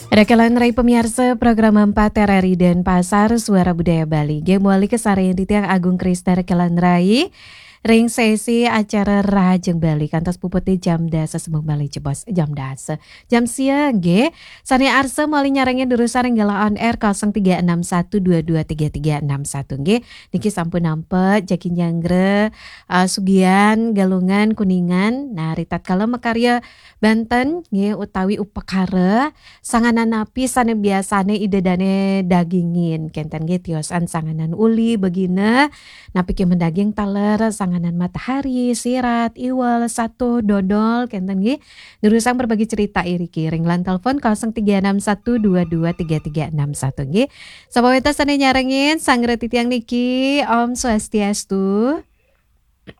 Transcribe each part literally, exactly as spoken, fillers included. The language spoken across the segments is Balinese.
Rekelan Rai pemiarsa program empat R R I Denpasar, Suara Budaya Bali. Nggih, mawali kasarengin titiang Agung Krista Rekelan Rai ring sesi acara Rahajeng Bali kantos puputne jam dasa, sembung malih jebos jam dasa. Jam sia nggih. Sane arsa mawali nyarengin durusang ring galah on air kosong tiga enam satu dua dua tiga tiga enam satu nggih. Niki sampun nampek jagi nyanggra, eh, Sugian, Galungan, Kuningan. Nah, ritatkala makarya banten nggih utawi upakara, sanganan napi sane biasane Ida dane dagingin? Kenten nggih tiosan sanganan uli, begina, napi ke madaging taler, sanganan matahari, sirat, iwel, satuh, dodol, kenten nggih. Durusang berbagi cerita iriki ring line telepon kosong tiga enam satu dua dua tiga tiga enam satu nggih. Sapa wenten sane nyarengin, sanggra titiang niki, Om Swastiastu.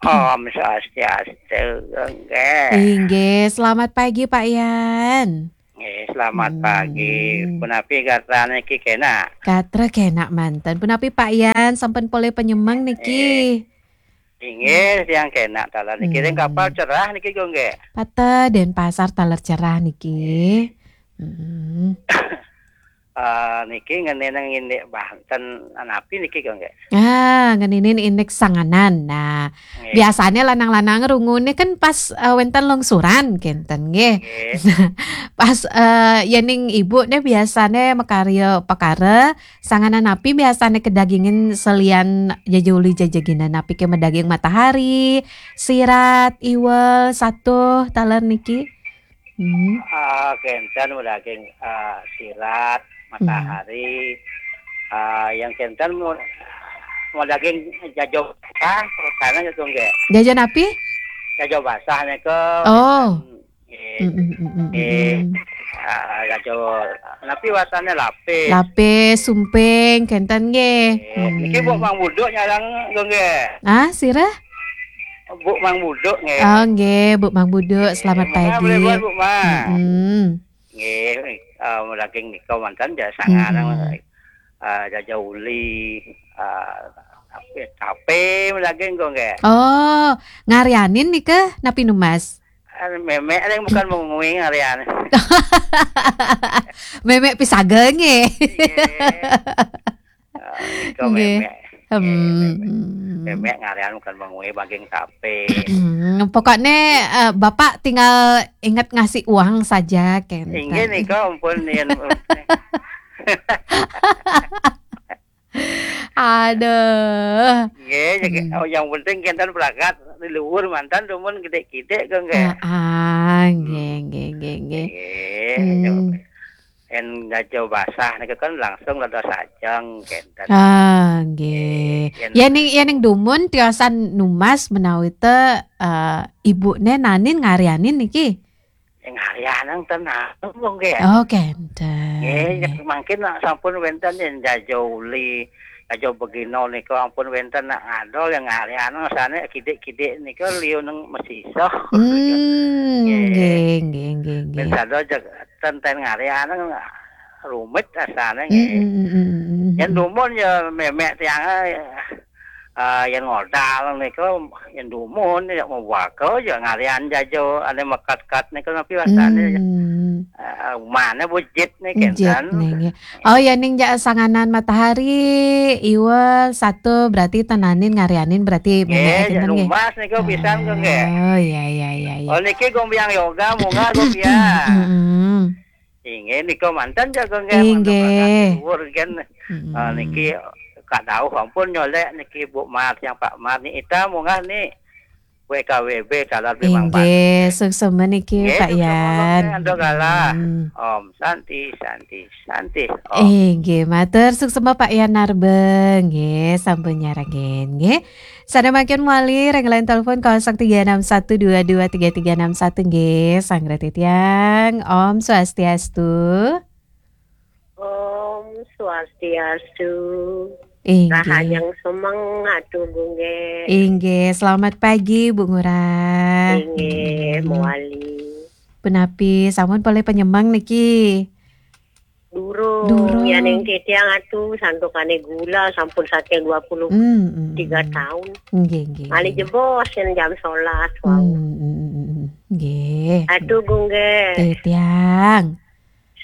Om Swastiastu, nggih. Inggih, selamat pagi Pak Yan. Nggih, selamat Hmm. pagi. Punapi gatra niki kenak? Gatra kenak manten. Punapi Pak Yan, sampun polih panyemeng niki? Inggih, tiang kenak taler niki. Ring Hmm. kapal cerah niki, Gung, nggih. Pata Denpasar taler cerah niki. Hmm. Eh, niki ngeninin indik banten napi niki, Gung, nggih? Ah, ngeninin indik sanganan. Nah, Nggih. biasane lanang-lanang rungune kan pas, eh, wenten longsuran, kenten nggih. Nggih. Pas, eh, yening ibu ne biasane makarya pekara, sanganan napi biasane kadagingin selian jaja uli jaja gina, napi ke madaging matahari, sirat, iwel, satuh, taler niki? Hmm. Ah, kenten madaging, ah, sirat, Hmm. matahari, ah, yang kenten mau, mau daging jajo basah, terus sana gitu, nggih. Jaja napi? Jajo basah nika Oh. kenten, nggih. Mm, mm, mm, mm, Eh, mm. ah, jajo napi wasane lapis. Lapis, sumping, kenten nggih. Eh, niki Hmm. Bu Mang Buduk nyarengin, nggih. Ah, sira? Bu Mang Buduk, nggih. Oh, nggih, Bu Mang Buduk, Nggih, selamat mangga pagi. Boleh buat, Bu Mang. Mm-mm. Nggih, eh, daging nika manten ja sanganan, Mm-mm. eh, jaja uli, eh, tape, tape daging kok, nggih. Oh, ngaryanin nika napi numbas? Eh, memek ring bukan mengui ngaryanin. Memek pisaga nggih. Nggih. Ah, nika Nggih. memek. Hmm. Eh, memek. Memek ngaryanin bukan mengui daging tape. Hmm, pokoknya, eh, Bapak tinggal ingat ngasih uang saja, kenten. Inggih nika ampun yen. Aduh. Nggih, ya, Hmm. oh, yang penting kenten berangkat di luhur manten dumun gede-gede kok, nggih. Ah, ah, nggih, Hmm. nggih, nggih, nggih. Nggih, Hmm. ya. Yen jaja basah nika kan langsung dados ajeng kenten. Ah, nggih. Nggih, yen Yening, yening dumun tiosan numbas menawi te, eh, ibune nanin ngaryanin niki? Ngaryanin ten nanem, nggih. Oh, kenten. Nggih, nggih. Mangkin nak sampun wenten yen jaja uli, jaja begina nika ampun wenten nak ngadol yang ngaryanin sane kidik-kidik nika liu neng mesisa. Hmm, Nggih. nggih, nggih, nggih, nggih. Yen sada jeg-, ten, ten ngaryanin rumit rasane, nggih. Mm, mm, mm, mm, mm, Yen mm. dumun ya memek tiang, eh, yen ngodal nika, yen dumun ya mawaka ya ngaryan jaja, ane mekat-kat nika napi wastane, Hmm. eh, umane bujit nih, Bujit kenten. nih, nggih. Oh, ya, ning ja sanganan matahari, iwel, satu, berarti tenanin ngaryanin, berarti Nggih, memek ya kenten, nggih. numbas nika pisan kok, nggih. Oh, iya, iya, iya, iya. Oh, niki gombiang yoga, munggah gombiang. Mm-mm. Inggih, nika manten jaga nggih, Inggih. manten berangkat luhur, nggih. Mm-mm. Ah, niki Kak Dauh ampun nyolek niki Bu Mar, yang Pak Mar ni ita munggah ni W K W B taler beli Inggih, mangkat. suksema niki, Nggih, Pak suksema, Yan. nggih, anda galah. Mm. Om Santi, Santi, Santi. Om. Inggih, matur suksema Pak Yan Narba, nggih, sampun nyarengin, nggih. Sada mangkin mawali ring line telepon kosong tiga enam satu dua dua tiga tiga enam satu, nggih, sanggra titiang. Om Swastiastu. Om Swastiastu. Inggih. Rahajeng semeng Atu Gung, nggih. Inggih, selamat pagi, Bu Ngurah. Inggih, Mm-mm. mawali. Punapi, sampun polih panyemeng niki? Durung. Durung. Yaning titiang Atu, santukane gula sampun saking dua puluh tiga Mm-mm. taun. Nggih, nggih, Malih nggih. jebos yen jam sebelas wau. Mm-mm. Nggih. Atu Gung, nggih. Titiang.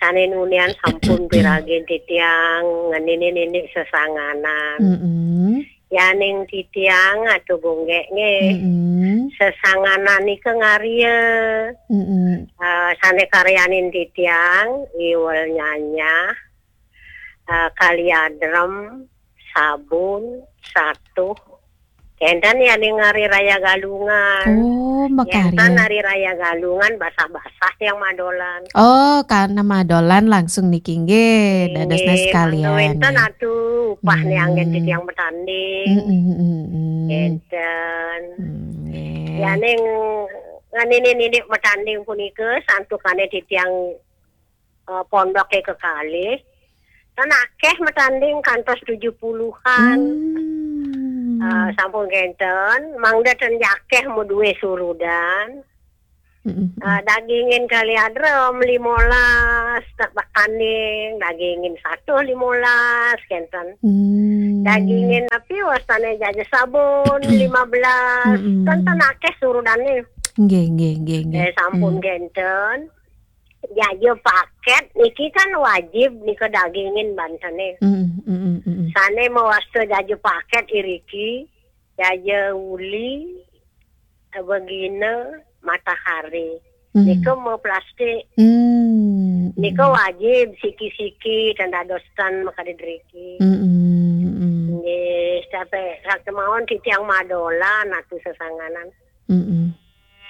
Sané nunian sampun piragin titiang ngeninin indik sesanganan. Mm-mm. Yaning titiang atu gunggék nggih. Mm-mm. Sesanganan nika ngarya. Mm-mm. Eh, sané karyanin titiang, iwel nyanyah, eh, kaliadrem, sabun, satuh. Kénten yaning hari raya Galungan. Oh, makarya. Kénten hari raya Galungan basah-basah tiang madolan. Oh, karena madolan langsung niki nggih, dadosna sekalian. Nggih, mangda wénten atuh upah nih anggén titiang matanding. Mm, mm, mm, mm. Kénten. Mm, nggih. Yaning nganinin indik matanding punika santukané titiang eh, pondoké kekalih. Tan akéh matanding kantos tujuh puluhan. Hmm. Eh, sampun kénten, mangda tan akéh madué surudan. Mm-mm. Eh, dagingin kaliadrem limolas, tak tanding, dagingin satuh limolas, kénten. Hmm. Dagingin napi wastané jaja sabun, lima belas, mm-mm, kan tan akéh surudané. Nggih, nggih, nggih, nggih. Eh, sampun kénten. Jaja pakét niki kan wajib nika dagingin bantené. Mm, mm, mm, mm. Sané mawasta jaja pakét iriki, jaja uli, begina, matahari. Mm. Nika maplastik. Mm. Nika wajib siki-siki tan dados tan makadi driki. Mm, mm, mm. Nggih, sampai sakemawon titiang madolan atuh sesanganan. Mm-mm.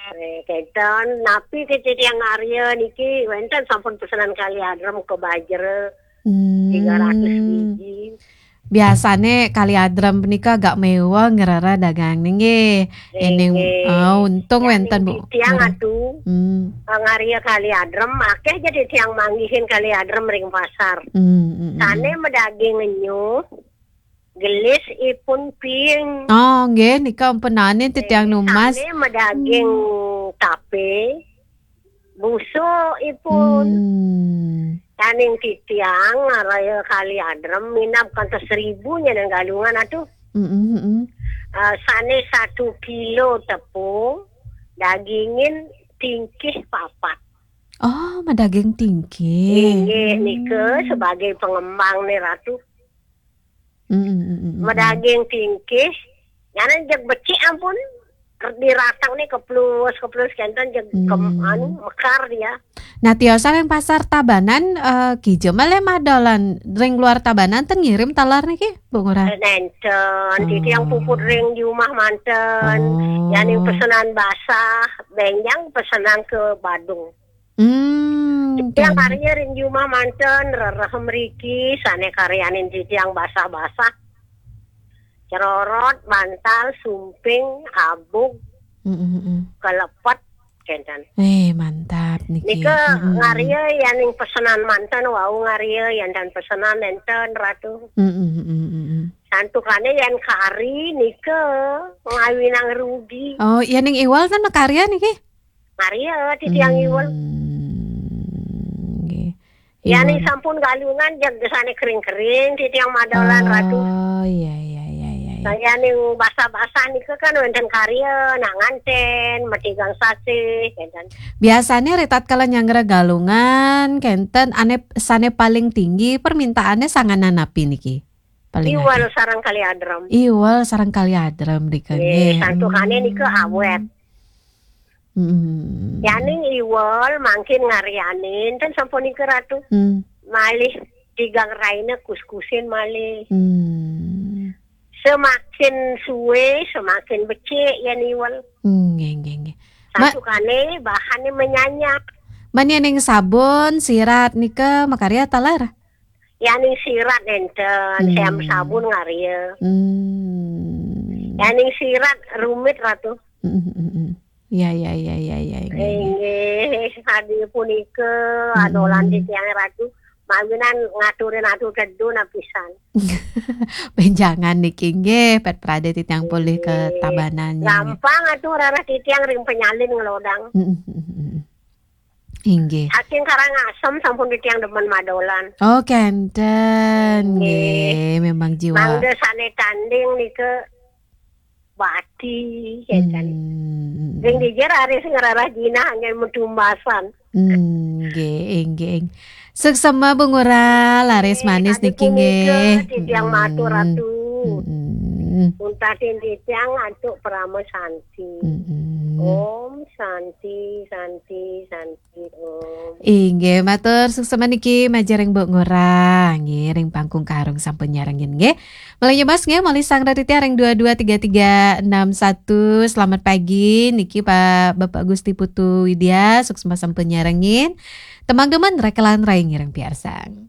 Eh, kénten, napi titiang ngarya niki wénten sampun pesenan kaliadrem ka Bajra, hmm, tiga ratus biji. Biasané kaliadrem punika agak méweh ngrereh dagang nggih. Nggih, ening, nggih. Oh, untung wénten, Bu. Titiang atuh, hmm, eh, ngarya kaliadrem, akéh ja titiang manggihin kaliadrem ring pasar. Hmm, hmm, hmm. Sané madaging enyuh, gelis ipun ping. Oh, nggih, nika empenanin titiang numbas. Sané madaging tapé, busuk ipun. Hmm. Daning titiang ngarya kaliadrem minab kantos seribu nyanan Galungan atuh. Mm, mm, mm. Eh, sané satu kilo tepung, dagingin tingkih papat. Oh, madaging tingkih. Inggih, nika sebagai pengembang nih, Ratu. Mm, mm, mm, mm, mm. Madaging tingkih, nyanan jeg becik ampun. Diratang nih keplus, keplus kénten jeg kem-, hmm, anu, mekar dia. Nah, tiosan ring pasar Tabanan, eh, kija malih madolan ring luar Tabanan ten ngirim taler niki, Bu Ngurah? Eh, nénten, titiang puput ring di rumah manten. Oh. Yaning pesenan basah, bénjang pesenan ke Badung. Hmm, titiang karya ring jumah manten, rereh mriki, sané karyanin titiang basah-basah. Cerorot, bantal, sumping, abug, mm, mm, mm, kelepet, kénten. Eh, mantap niki. Nika, mm, mm, ngarya yaning pesenan manten, wau ngarya yan tan pesenan nénten, Ratu. Mm, mm, mm, mm, mm. Santukané yan kari nika ngawinang rugi. Oh, yaning iwal tan makarya niki? Maria, titiang iwel. Hmm, nggih. Yaning iwel. Sampun Galungan, jeg sané kering-kering, titiang madolan, Ratu. Oh, iya, iya, iya, iya, iya. Nah, yaning basah-basah nika kan wénten karya, nak nganten, matigang sasih, kénten. Biasané ritatkala nyanggra Galungan, kénten ané sané paling tinggi permintaanné sanganan napi niki? Paling akeh. Iwel sareng kaliadrem. Iwel sareng kaliadrem nika, nggih, nggih. Santukané nika awet. Hmm. Yaning iwel mangkin ngaryanin, ten sampun nika, Ratu. Hmm. Malih tigang raina kuskusin malih. Hmm. Semakin suwe, semakin becik yan iwel. Hmm, nggih, nggih, nggih. Santukané bahané menyanyak. Man yaning sabun, sirat nika makarya taler? Yaning sirat nénten, hmm, sem sabun ngarya. Hmm. Yaning sirat rumit, Ratu. Hmm, hmm, hmm, hmm. Ya, ya, ya, ya, ya, ya, ya. Inggih, sadaya punika, hmm, adolan titiang, Ratu. Mawinan ngaturin atur tedu napisan. Benjangan niki nggih, pet pradé titiang polih ke Tabanan nggih. Gampang atuh rarah titiang ring penyalin ngelodang. Hmm, hmm, hmm, hmm. Inggih. Saking Karangasem sampun titiang demen madolan. Oh, kénten. Inggih. Nggih, memang jiwa. Mangda sané tanding nika bati, kénten. Hmm. Ring dija raris ngrarah jinah anggén matumbasan. Nggih, nggih. Suksma Bu Ngurah, laris manis niki nggih. Titiang matur Ratu. Untatin titiang antuk parama santi. Om santi, santi, santi, om. Inggih, matur suksma niki majeng ring Bu Ngurah, nggih, ring pangkung karung sampun nyarengin nggih. Malih nyomas nggih, malih sang raditya ring dua dua tiga tiga enam satu. Selamat pagi niki Pak Bapak Gusti Putu Widya, suksma sampun nyarengin. Tembang demen rekelan rai ngiring piarsang.